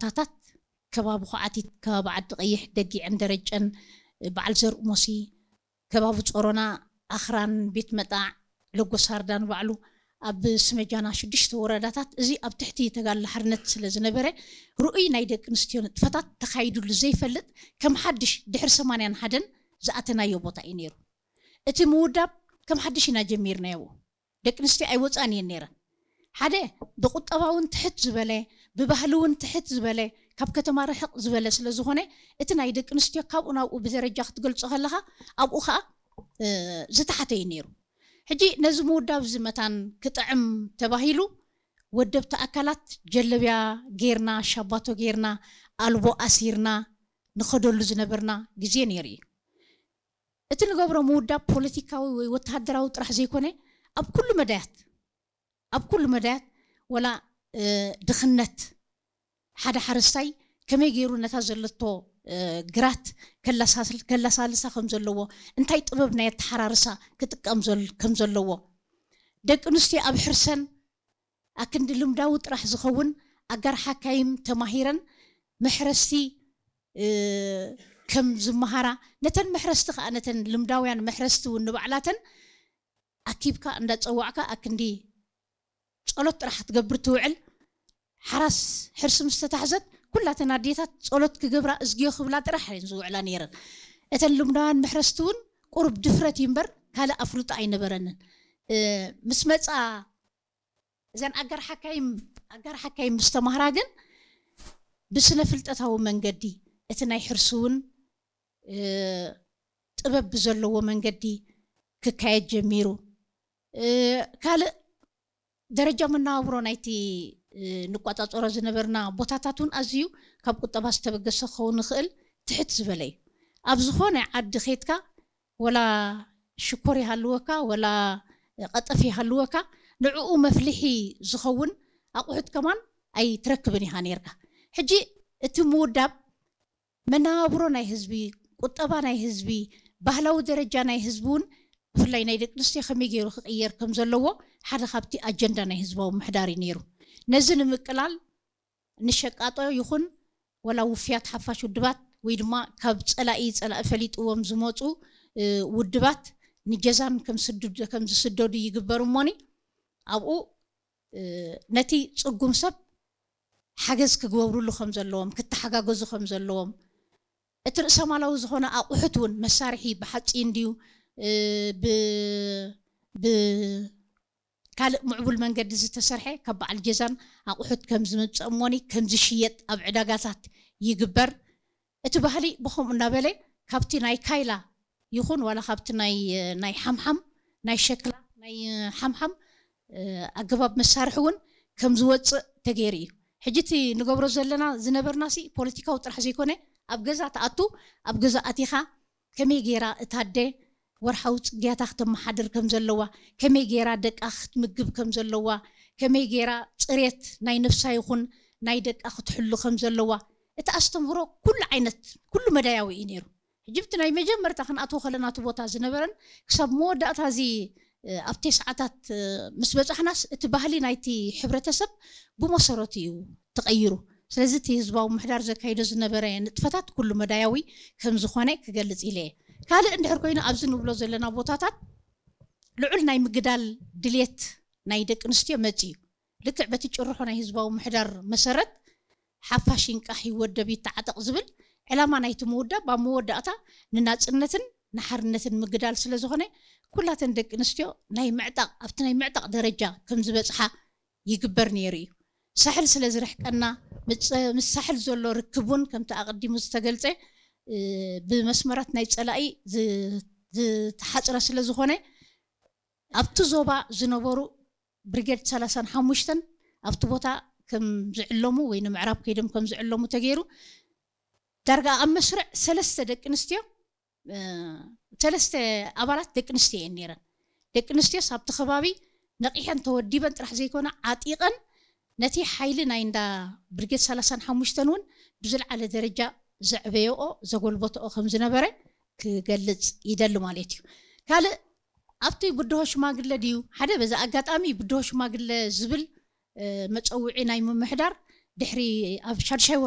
ቦታታት ከባቢ ኳዓቲት፣ ከባቢ ዓዲ ቀይሕ፣ ደጊዕን ደረጨን፣ በዓል ዘርኡ ሞሲ፣ ከባቢ ጾሮና፣ ኣኽራን፣ ቤት መጣዕ፣ ለጎሳርዳ ንባዕሉ ኣብ ስመጃና ሽዱሽተ ወረዳታት፣ እዚ ኣብ ትሕቲ ተጋድሎ ሓርነት ስለ ዝነበረ፣ ርኡይ ናይ ደቂ ኣንስትዮ ንጥፈታት ተኻይዱሉ ዘይፈልጥ፣ ከም ሓድሽ ድሕሪ ሰማንያን ሓደን ዝኣተናዮ ቦታ እዩ ነይሩ። እቲ ምውዳብ ከም ሓድሽ ኢና ጀሚርናዮ። ደቂ ኣንስትዮ ኣይወፃን እየን ነይረን። ሓደ፣ ብቁጠባ እውን ትሕት ዝበለ፣ ብባህሊ እውን ትሕት ዝበለ፣ ካብ ከተማ ርሕቕ ዝበለ ስለ ዝኾነ፣ እቲ ናይ ደቂ ኣንስትዮ ካብኡ ናብኡ ብደረጃ ክትገልጾ ከለኻ፣ ኣብኡ ኸዓ ዝተሓተ እዩ ነይሩ። ሕጂ ነዚ ምውዳብ እዚ መታን ክጥዕም ተባሂሉ፣ ወደብቲ ኣካላት ጀለብያ ጌርና፣ ሻባቶ ጌርና፣ ኣልቦ ኣሲርና ንኸደሉ ዝነበርና ግዜ ነይሩ እዩ። እቲ ንገብሮ ምውዳብ ፖለቲካዊ ወይ ወተሃደራዊ ጥራሕ ዘይኮነ፣ ኣብ ኩሉ መዳያት፣ ኣብ ኩሉ መዳያት፣ ወላ ድኽነት ሓደ ሓረስታይ ከመይ ገይሩ ነታ ዘለቶ ግራት ከላሳልሳ ከም ዘለዎ፣ እንታይ ጥበብ ናይ ኣተሓራርሳ ክጥቀም ከም ዘለዎ፣ ደቂ ኣንስትዮ ኣብ ሕርሰን ኣክንዲ ልምዳዊ ጥራሕ ዝኸውን ኣጋር ሓካይም ተማሂረን መሕረስቲ ከም ዝመሃራ፣ ነተን መሕረስቲ ከዓ፣ ነተን ልምዳውያን መሕረስቲ እውን ንባዕላተን ኣኪብካ እንዳፀዋዕካ ኣክንዲ ጸሎት ጥራሕ ክትገብር ትውዕል። ሓራስ ሕርሲ ምስ ተታሕዘት፣ ኩላተን ኣዴታት ጸሎት ክገብራ እዝግዮ ክብላ ጥራሕ እየን ዝውዕላ ነይረን። እተን ልምዳውያን መሕረስቲ እውን ቁሩብ ድፍረት እዩ እምበር ካልእ ኣፍልጦ ኣይነበረንን። ምስ መጻ፣ እዘን ኣጋር ሓካይም ኣጋር ሓካይም ምስ ተማህራ ግን ብስነ ፍልጠታዊ መንገዲ እቲ ናይ ሕርሲ እውን ጥበብ ብዘለዎ መንገዲ ክካየድ ጀሚሩ። ካልእ ደረጃ መነባብሮ ናይቲ ንቋጻጸሮ ዝነበርና ቦታታት እውን ኣዝዩ ካብ ቁጠባ ዝተበገሰ ክኸውን ይኽእል፣ ትሕት ዝበለ እዩ። ኣብ ዝኾነ ዓዲ ኸይድካ፣ ወላ ሽኮር ይሃልወካ፣ ወላ ቀጠፍ ይሃልወካ፣ ንዕኡ መፍልሒ ዝኸውን ኣቑሑት ከማን ኣይትረክብን ኢኻ ነይርካ። ሕጂ እቲ ምውዳብ መነባብሮ ናይ ህዝቢ፣ ቁጠባ ናይ ህዝቢ፣ ባህላዊ ደረጃ ናይ ህዝቢ እውን፣ ብፍላይ ናይ ደቂ ኣንስትዮ ከመይ ገይሩ ክቕየር ከም ዘለዎ ሓደ ካብቲ ኣጀንዳ ናይ ህዝባዊ ምሕዳር እዩ ነይሩ። ነዚ ንምቅላል ንሸቃጦ ይኹን ወላ ውፍያት ሓፋሽ ውድባት ወይ ድማ ካብ ጸላኢ፣ ጸላኢ ፈሊጥዎም ዝመጹ ውድባት ንጀዛን ከም ዝስደዱ ይግበር እሞኒ፣ ኣብኡ ነቲ ጽጉም ሰብ ሓገዝ ክግበብርሉ ከም ዘለዎም፣ ክተሓጋገዙ ከም ዘለዎም፣ እቲ ርእሰማላዊ ዝኾነ ኣቑሑት እውን፣ መሳርሒ ብሓጺን ድዩ፣ ብ-፣ ብ-፣ ካልእ ምዕቡል መንገዲ ዝተሰርሐ ካብ በዓል ጀዛን ኣቑሑት ከም ዝምጸእ እሞኒ ከም ዝሽየጥ ኣብ ዕዳጋታት ይግበር። እቲ ባህሊ ብኸምኡ እናበለ ካብቲ ናይ ካይላ ይኹን ዋላ ካብቲ ናይ፣ ናይ ሓምሓም፣ ናይ ሸክላ፣ ናይ ሓምሓም ኣገባብ መሳርሒ እውን ከም ዝወፅእ ተገይሩ እዩ። ሕጂ እቲ ንገብሮ ዘለና ዝነበርና ሲ ፖለቲካዊ ጥራሕ ዘይኮነ ኣብ ገዛ ትኣቱ፣ ኣብ ገዛ ኣቲኻ ከመይ ገይራ እታ ኣደ ወርሓዊ ጽግያታ ክተመሓድር ከም ዘለዋ፣ ከመይ ገይራ ደቃ ክትምግብ ከም ዘለዋ፣ ከመይ ገይራ ጽሬት ናይ ነፍሳ ይኹን ናይ ደቃ ክትሕሉ ከም ዘለዋ፣ እቲ ኣስተምህሮ ኩሉ ዓይነት ኩሉ መዳያዊ እዩ ነይሩ። ሕጂ ብቲ ናይ መጀመርታ ክንኣትዎ ከለና እቲ ቦታ ዝነበረን ክሳብ መወዳእታ እዚ ኣብ ተስዓታት ምስ በጻሕናስ እቲ ባህሊ ናይቲ ሕብረተሰብ ብመሰረቱ እዩ ተቐይሩ። ስለዚ እቲ ህዝባዊ ምሕዳር ዘካይዶ ዝነበረ ንጥፈታት ኩሉ መዳያዊ ከም ዝኾነ ክገልጽ ኢለ እየ። ካልእ እንድሕር ኮይኑ ኣብዚ ንብሎ ዘለና ቦታታት ልዑል ናይ ምግዳል ድልየት ናይ ደቂ ኣንስትዮ መጽእ እዩ። ልክዕ በቲ ጭርሖ ናይ ህዝባዊ ምሕዳር መሰረት ሓፋሽ ይንቃሕ ይወደብ ይተዓጠቕ ዝብል ዕላማ ናይቲ ምውዳብ ኣብ መወዳእታ ንናጽነትን ንሓርነትን ምግዳል ስለ ዝኾነ ኩላተን ደቂ ኣንስትዮ ናይ ምዕጣቕ ኣብቲ ናይ ምዕጣቕ ደረጃ ከም ዝበጽሓ ይግበር ነይሩ እዩ። ሳሕል ስለ ዝርሕቀና ምስ ሳሕል ዘሎ ርክብ እውን ከምቲ ኣቐዲሙ ዝተገልጸ ብመስመራት ናይ ጸላኢ ዝተሓጽረ ስለ ዝኾነ ኣብቲ ዞባ ዝነበሩ ብሪጌድ ሰላሳን ሓሙሽተን ኣብቲ ቦታ ከም ዝዕለሙ ወይ ንምዕራብ ከይዶም ከም ዝዕለሙ ተገይሩ። ዳርጋ ኣብ መስርዕ ሰለስተ ደቂ ኣንስትዮ ሰለስተ ኣባላት ደቂ ኣንስትዮ እየን ነይረን። ደቂ ኣንስትዮስ ኣብቲ ከባቢ ነቒሐን ተወዲበን ጥራሕ ዘይኮነ ዓጢቐን ነቲ ሓይሊ ናይ እንዳ ብርጌድ ሰላሳን ሓሙሽተን እውን ብዝለዓለ ደረጃ ዘዕበየኦ ዘጎልበተኦ ከም ዝነበረ ክገልጽ ይደሊ ማለት እዩ። ካልእ ኣብቲ ብድሆ ሽማግለ ድዩ ሓደ በዚ ኣጋጣሚ ብድሆ ሽማግለ ዝብል መፀውዒ ናይ ምምሕዳር ድሕሪ ኣብ ሻድሻይ